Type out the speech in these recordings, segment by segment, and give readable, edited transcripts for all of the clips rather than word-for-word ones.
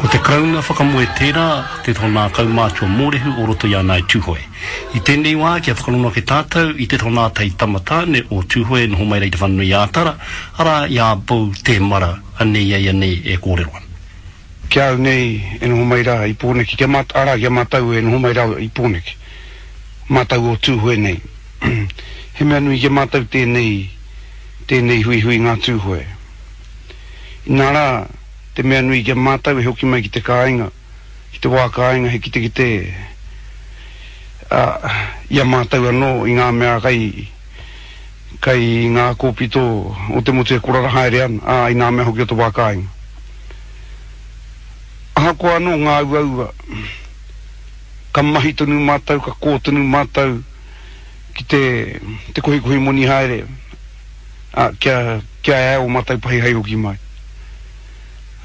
Ko te Karauna whakamoe tērā, te tōnā kaumātua mōrehu o roto i a Ngāi Tūhoe. I tēnei wā, kia whakarongo ake tātou i te tōnā tai tama tāne o Tūhoe e noho mai rā i Te Whanganui-ā-Tara, arā, i a Beau Tēmara, anei a ia nei e kōrero ana. Ki a au nei e noho mai rā i Pōneke, kia mā, arā, ki a mātou e noho mai rā i Pōneke, mātou o Tūhoe nei. He mea nui ki a mātou tēnei, tēnei huihui ngā Tūhoe. Inā rā, te mea nui ki a mātou e hoki mai ki te kāinga, ki te wā kāinga he kitekite, ā, i a mātou anō i ngā mea kai, kai ngā kōpito o te motu e korara haere ana, ā, i ngā mea hoki o te wā kāinga. Ahakoa anō ngā uaua, ka mahi tonu mātou, ka kō tonu mātou ki te, te kohikohi moni haere, ā, kia, kia ea ō mātou pahi hei hoki mai.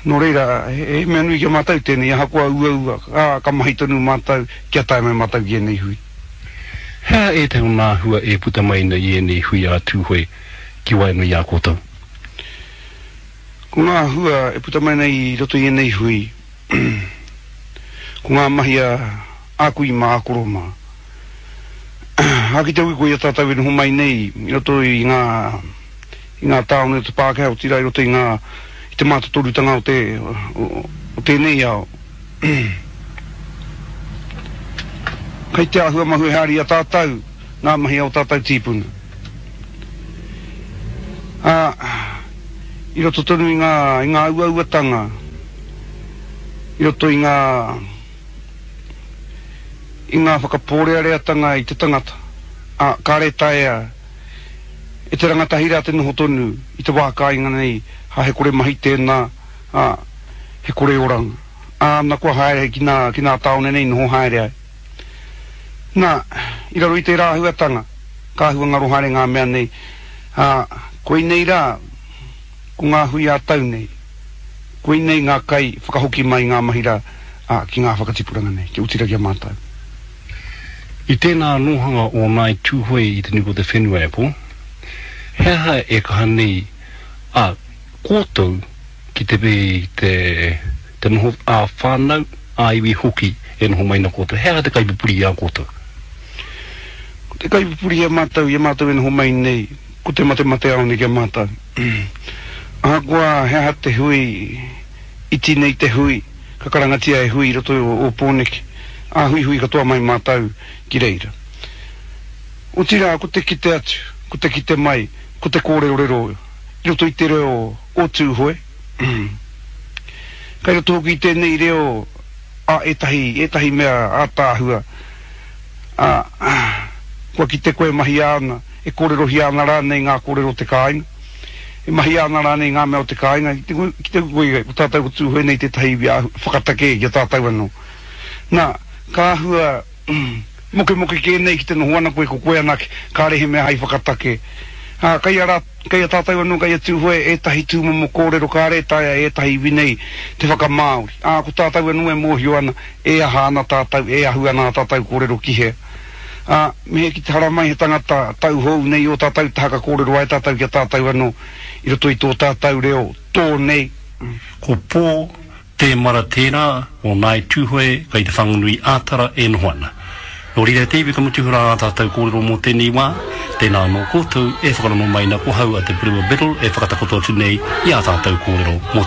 Nō reira, he mea nui ki a mātou tēnei, ahakoa uaua, ā, ka mahi tonu mātou kia tae mai mātou ki ēnei hui. He aha ētahi o ngā hua e puta mai ana i ēnei hui ā-Tūhoe ki waenganui i a koutou? Ko ngā hua e puta mai ana i roto i ēnei hui, ko ngā mahi a ā kui mā, ā koro mā. Ā, ki te hoki koe i a tātou e noho mai nei i roto i ngā, i ngā tāone o te Pākehā, otirā i roto i ngā, i te mātotorutanga o te, o, o tēnei ao. Kei te āhua mahue haere i a tātou ngā mahi a ō tātou tīpuna. Ā, i roto tonu i ngā, i ngā uauatanga, i roto i ngā, i ngā whakapōreareatanga i te tangata, ā, kāre taea e te rangatahi rā te noho tonu i te wā kāinga nei, ā, he kore mahi tēnā, ā, he kore oranga. Ā, na kua haere ki nā, ki nā tāone nei noho haere ai. Nā, i raro i tērā āhuatanga, ka āhua ngaro haere ngā mea nei, ā, koinei rā, ko ngā hui ā-tau nei, koinei ngā kai whakahoki mai i ngā mahi rā, ā, ki ngā whakatipuranga nei, kia oti rā ki a mātou. I tēnā nōhanga o Ngāi Tūhoe i te nuku o te whenua e Paul, he aha e kaha nei a koutou ki te te te noho ā-whānau, ā-iwi hoki e noho mai na koutou? He aha te kaipupuri i a koutou? Ko te kaipupuri i a mātou, i a mātou e noho mai nei, ko te matemateāone ki a mātou. Ahakoa he aha te hui, iti nei te hui, ka karangatia he hui i roto o Ōpōneke, ā, huihui katoa mai mātou ki reira. Otirā, ko te kite atu, ko te kite mai, ko te kōrerorero i roto i te reo o Tūhoe. Kai roto hoki i tēnei reo a ētahi, ētahi mea ātaahua, ā, kua kite koe e mahia ana, e kōrerohia ana rānei ngā kōrero o te kāinga. E mahia ana rānei ngā mea o te kāinga, ki te, ki te koe, ko tātou ko Tūhoe nei tētahi iwi āhua, whakatakē ki a tātou anō. Nā, ka āhua mokemoke kē nei ki te noho ana koe ko koe anake, kāre he mea hai whakatake. Ā, kei a rā, kei a tātou anō, kei a Tūhoe ētahi tūmomo kōrero kāre e taea e ētahi iwi nei te whakamāori. Ā, ko tātou anō e mōhio ana, e aha ana tātou, e ahu ana ā tātou kōrero ki hea. Ā, me he ki te haramai he tangata tauhou nei ō tātou taha ka kōrero ai tātou ki a tātou anō i roto i tō tātou reo tō nei. Ko Pō Tēmara tērā o Ngāi Tūhoe kei Te Whanganui ā-Tara e noho ana. Nō reira e te iwi ka mutu rā ā tātou kōrero mō tēnei wā, tēnā anō koutou e whakarongo mai na ko hau a Te Purewa Biddle e whakatakoto atu nei i ā tātou kōrero mō tēnei.